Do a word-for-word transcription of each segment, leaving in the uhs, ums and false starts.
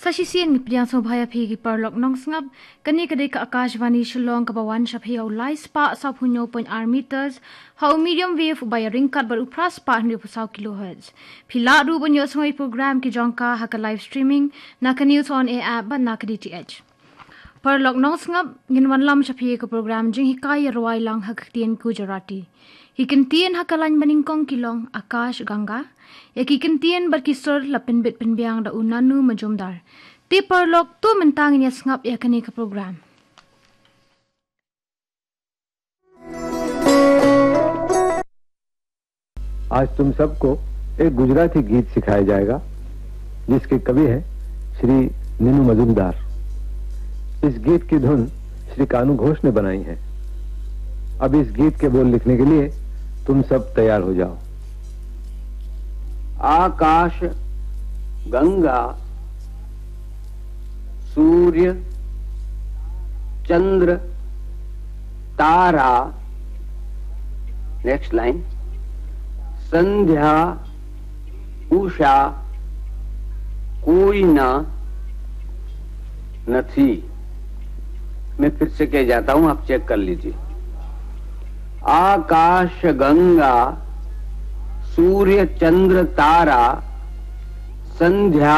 Sa shisien ngi pdiang sngewbha ïa phi ki paralok nongsngap. Kane ka dei ka Akashvani Shillong kaba wan sha phi ha u lai spah sawphew hynñiew point ar meters, ha u medium wave uba ïaryngkat bad u phra spah hynriewphew saw kilohertz. Phi lah ruh ban ïohsngew ïa ki program ki jong ka ha ka live streaming na ka News On Air app bad na ka D T H. Paralok nongsngap, ngin wanlam sha phi ïa ka program jinghikai ïa rwai lang ha ka ktien Gujarati. Ki kyntien ha ka lain banyngkong ki long Akash Ganga. Ïa ki kyntien bad ki sur la pynbit pynbiang da u Nanu Majumdar. Te paralok, to mynta ngin ïa sngap ïa kane ka program. आज तुम सबको एक गुजराती गीत सिखाया जाएगा, जिसके कवि हैं श्री नीनू मजूमदार। इस गीत की धुन श्री कानू घोष ने बनाई है। अब इस गीत के बोल लिखने के लिए तुम सब तैयार हो जाओ। आकाश, गंगा, सूर्य, चंद्र, तारा, नेक्स्ट लाइन, संध्या, उषा, कोई ना, नथी। मैं फिर से कह जाता हूं, आप चेक कर लीजिए। आकाश, गंगा, सूर्य, चंद्र, तारा, संध्या,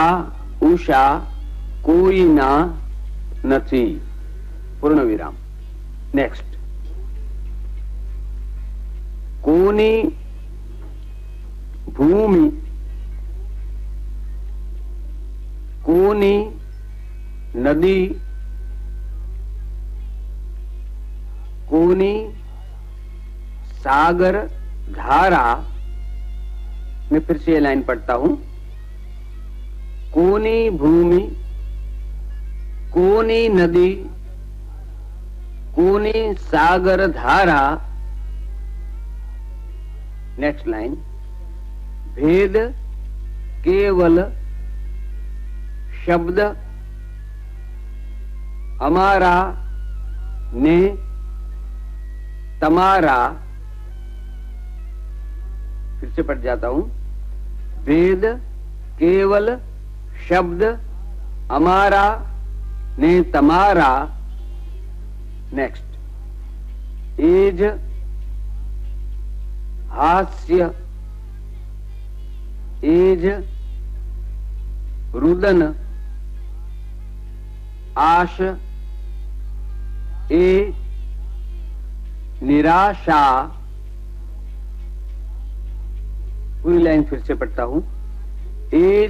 उषा, कोई ना, नथी। पूर्ण विराम। नेक्स्ट। कोनी भूमि, कोनी नदी, कोनी सागर धारा। मैं फिर से ये लाइन पढ़ता हूं। कोनी भूमि, कोनी नदी, कोनी सागर धारा। नेक्स्ट लाइन। भेद केवल शब्द हमारा ने तमारा। फिर से पढ़ जाता हूं। भेद केवल शब्द हमारा ने तमारा। नेक्स्ट। एज हास्य, एज रुदन, आश ए निराशा। पूरी लाइन फिर से पढ़ता हूं। एज